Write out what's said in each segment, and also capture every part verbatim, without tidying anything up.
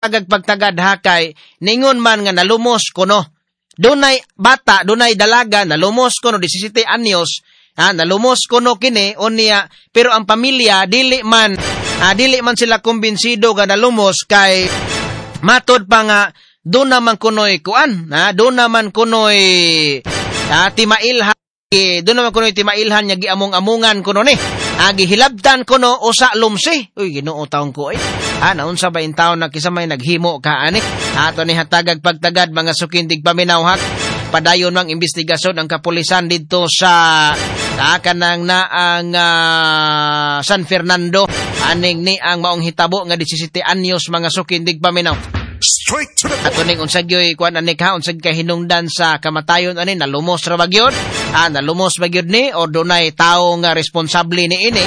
Pagtagad hakay ningon man nga nalumos kuno. Dunay bata, dunay dalaga nalumos kuno labing-siyam anyos, ha, nalumos kuno kini unya, pero ang pamilya dili man ah, dili man sila kumbinsido nga nalumos kay matod pa nga doon naman kunoy kuan, ha, doon naman kunoy ah, timailhan, doon naman kunoy timailhan nga giamong-amungan kuno ni. Ah, gihilabtan kuno usa lumsi. Uy, Ginoo taong ko eh. Ah, naunsa ba in taon na kisa may naghimo ka ani? Ato ni hatagag pagtagad mga sukindig paminaw hak. Padayon mang investigasyon ang kapulisan didto sa ah, kanang naang uh, San Fernando aning ni ang maong hitabo nga labing-siyam anyos mga sukindig paminaw. Straight to the point. Ato ning unsag yoy kuan ani ka unsag kahinungdan sa kamatayon ani, nalumos ra ba gyud? Ah, nalumos ba gyud ni o dunay tawo nga responsable ni ini?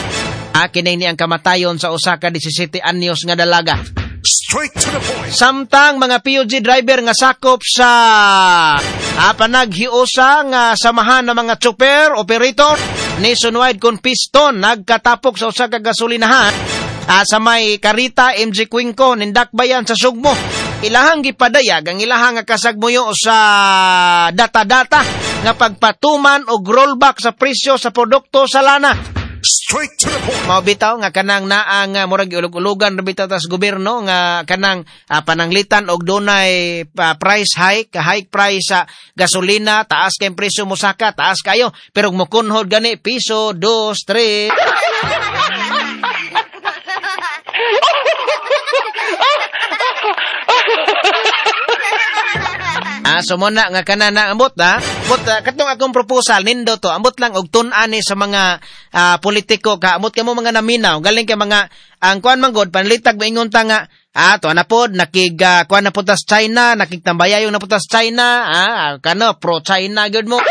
Ah, kini ni ang kamatayon sa usa ka labing-siyam anyos nga dalaga. Straight to the point. Samtang mga P U G driver nga sakop sa ah, panaghiusa nga samahan ng mga chopper operator nationwide kon piston nagkatapok sa usa ka gasolinahan ah, sa may Karita M G Cuenco nindakbayan sa Sugbo. Ilahang gipadayag ang ilahang nga kasagmuyo sa data-data nga pagpatuman og rollback sa presyo sa produkto sa lana. Straight to the point. Mao bitaw nga kanang naang uh, murag ulog-ulugan ra bitaw tas gobyerno nga kanang uh, pananglitan og dunay uh, price hike, hike price sa gasolina, taas kay presyo mosaka, taas kayo, pero mokunhod gani piso, dos, tres. Ah, so muna nga kanana ambot ha. Ambot uh, katong akong proposal nindo to. Ambot lang og tun-an ni sa mga uh, politiko ka. Ambot kamo mga naminaw. Galing kay mga ang kuan man god panlitag maingon ta nga ah to na pod nakig uh, kuan na pod tas China, nakigtambayayong na pod tas China, ah kano pro China gyud mo.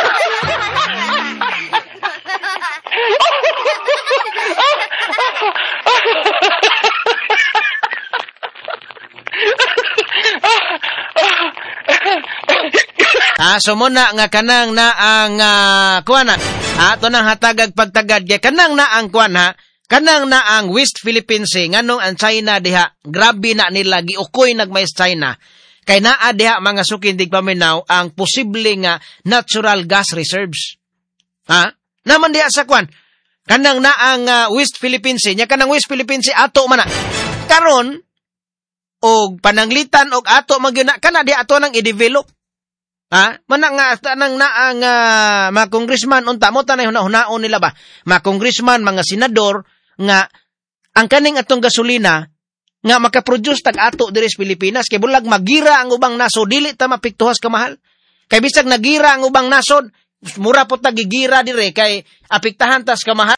Ah, so muna nga kanang na ang uh, kuan na. Ato nang hatagag pagtagad kay kanang na ang kuan ha. Kanang na ang West Philippine Sea nganong ang China diha grabe na nila giukoy nagmay China. Kay naa diha mga sukindig paminaw ang posible nga natural gas reserves. Ha? Naman diha sa kuan. Kanang na ang uh, West Philippine Sea nya kanang West Philippine Sea ato man na. Karon og pananglitan og ato magyud na kana diha ato nang i-develop. Ha? Mana nga tanang na ang uh, mga congressman unta mo tanay huna-hunaon nila ba? Mga congressman, mga senador nga ang kaning atong gasolina nga makaproduce tag ato diri sa Pilipinas kay bulag magira ang ubang nasod dili ta mapiktuhas kamahal. Kay bisag nagira ang ubang nasod, mura po tag gigira dire kay apektahan tas kamahal.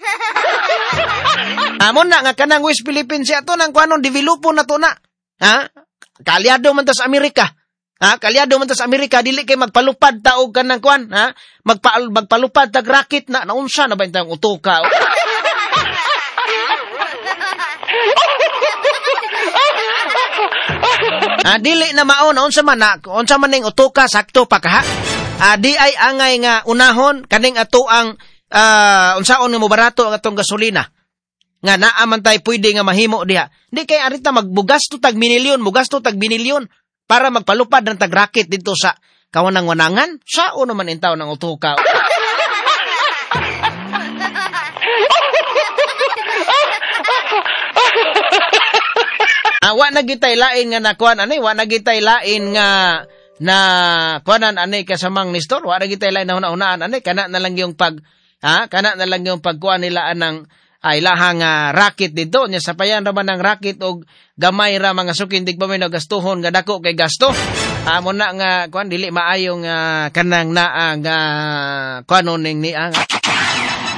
Amon na nga kanang West Philippines ato nang kuanon developo na to na. Ha? Kaalyado man tas Amerika. Ha, kalyado man ta sa Amerika dili kay magpalupad ta og kanang kuan, ha? Magpa magpalupad tag rocket na naunsa na ba intang utoka? Ah, dili na mao naunsa man na, unsa man ning utoka sakto pa kaha. Ah, di ay angay nga unahon kaning ato ang uh, unsaon nga mobarato ang atong gasolina. Nga naa man tay pwede nga mahimo diha. Di kay arita magbugasto tag minilyon, mugasto tag binilyon para magpalupad ng tag-rocket dito sa kawanang-wanangan, sao naman intaw ng utuka. Ah, wa na gitay lain nga nakuan ani, wa na gitay lain nga na kuanan ani kasamang Nestor, wa na gitay lain na una-unaan ani, kana na lang yung pag ha, kana na lang yung pagkuan nila anang ay lahang uh, racket dito nya sapayan ra man ang racket og gamay ra mga sukindig pa may nagastuhon nga dako kay gasto. Amo na nga kuan dili maayo nga kanang naa nga kuanon ning ni ang